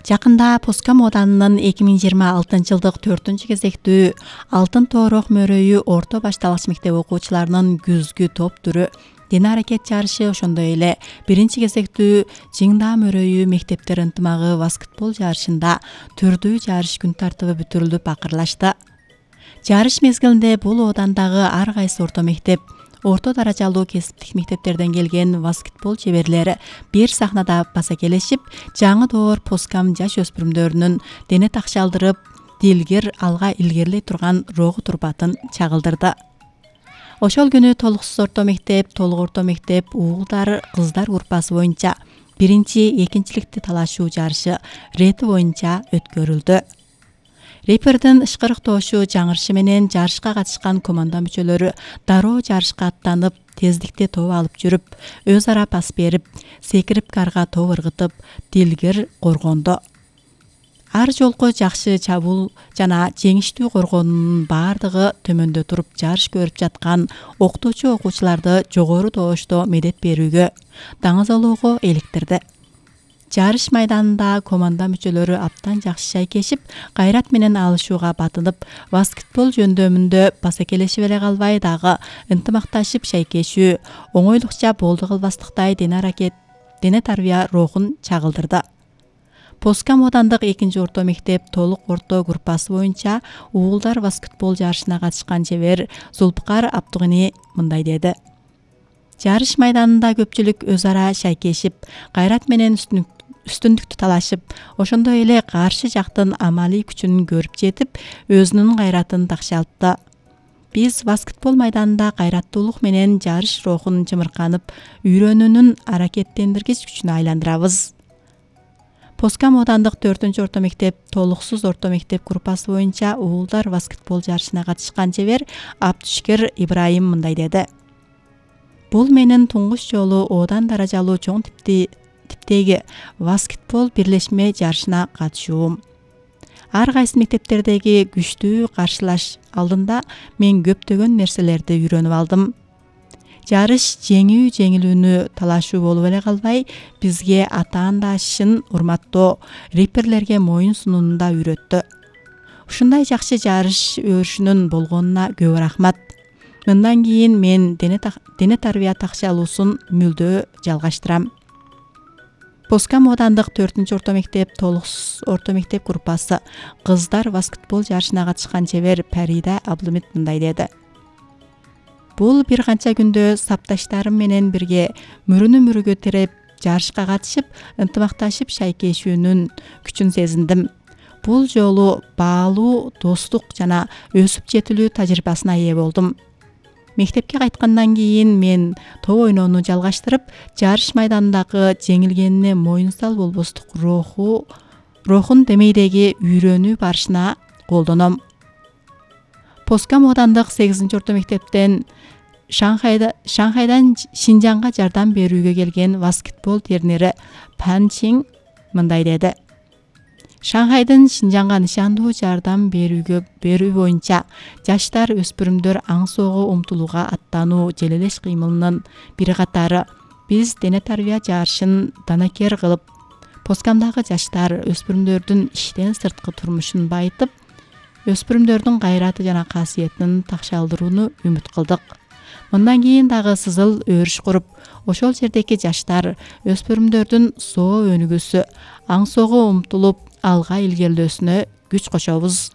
Жакында Поска мооданынын 2026-жылдык 4-кезектүү Алтын тоорок мөрөйү орто башталгыч мектеп окуучуларынын күзгү топ түрү дене аракет жарышы, ошондой эле 1-кезектүү Жиңдаа мөрөйү мектептер ынтымагы баскетбол жарышында түрдүү жарыш күн тартыбы бүтүрүлүп акырлашты. Жарыш мезгилинде бул оодандагы ар кайсы орто мектеп, орто даражалуу кесиптик мектептерден келген баскетбол чеберлери бир сахнада басакелешип, жаңы доор Поскам жаш өспүрүмдөрүнүн дене такшалдырып, дилгир алга илгерилей турган рогу турбатын чагылдырды. Ошол күнү толуксуз орто мектеп, толук орто мектеп, уулдар, кыздар группасы боюнча 1-2-ликти талашуу жарышы рети боюнча өткөрүлдү. Репердин ышкырыктоошу жаңырышы менен жарышка катышкан команда мүчөлөрү дароо жарышка аттанып, тездикте топ алып жүрүп, өз ара пас берип, секирип карга топ ыргытып, дилгир коргондо. Ар жолку жакшы чабуул жана жеңиштүү коргоонунун баардыгы төмөндө туруп жарыш көрүп жаткан окутуучу окуучуларды жогору тоошто медет берүүгө, даңазалоого иликтирди. Жарыш майданында команда мүчөлөрү абдан жакшы шайкешип, кайрат менен алышууга батынып, баскетбол жөндөмүндө басакелешип эле калбай, дагы ынтымакташып шайкешүү, оңойлукча болду кылбастыктай дене тарбия рухун чагылдырды. Поска моодандык 2-орто мектеп толук орто группасы боюнча уулдар баскетбол жарышына катышкан чебер Зулпукар Абдыгыни мындай деди. Жарыш майданында көпчүлүк өз ара шайкешип, кайрат менен үстүндүктү талашып, ошондой эле каршы жактын амалий күчүн көрүп жетип, өзүнүн кайратын такшалтты. Биз баскетбол майданында кайраттуулук менен жарыш рухун чымырканып, үйрөнүүнүн аракеттендиргич күчүнө айландырабыз. Поска моодандык 4-орто мектеп, толуксуз орто мектеп группасы боюнча уулдар баскетбол жарышына катышкан чебер Абдышкер Ибраим мындай деди. Бул менин туңгуч жолу оодан даражалуу чоң типтеги баскетбол бирлешме жарышына катышуум. Ар кайсы мектептердеги күчтүү каршылаш алдында мен көптөгөн нерселерди үйрөнүп алдым. Жарыш жеңүү-жеңилүүнү талашуу болуп эле калбай, бизге атаандашын урматтоо, реперлерге моюн сунууну да үйрөттү. Ушундай жакшы жарыш өрүшүнүн болгонуна көп рахмат. Мындан кийин мен дене тарбия такшалуусун мүлдөө жалгаштырам. Поска моодандык 4-орто мектеп, толуксуз орто мектеп группасы кыздар баскетбол жарышына катышкан чебер Парида Аблымит мындай деди. Бул бир канча күндө сапташтарым менен бирге мөрүнө-мөрүгө тиреп, жарышка катышып, ынтымакташып шайкешүүнүн күчүн сезиндим. Бул жолу баалуу, достук жана өсүп жетилүү тажрыйбасына ээ болдум. Мектепке кайткандан кийин мен топ ойноону жалгаштырып, жарыш майданындагы жеңилгенине моюнсал болбостук рухун демейдеги үйрөнүү барышына колдоном. Поска моодандык 8-орто мектептен Шанхайдан Шинжаңга жардам берүүгө келген баскетбол тренери Пан Чин мындай деди. Шанхайдын Шинжаңга нышандуу жардам берүү боюнча жаштар өспүрүмдөр аң-соого умтулууга аттануу желелеш кыймылынын бир катары. Биз дене тарбия жарышын данакер кылып, Поскамдагы жаштар өспүрүмдөрдүн иштен сырткы турмушун байытып, өспүрүмдөрдүн кайраты жана касиетин такшалдырууну үмүт кылдык. Мындан кийин дагы сызыл өрүш куруп, ошол жердеги жаштар өспүрүмдөрдүн соо өнүгүүсү, аң-соого умтулуп, алга илгерилөөсүнө күч кошобуз.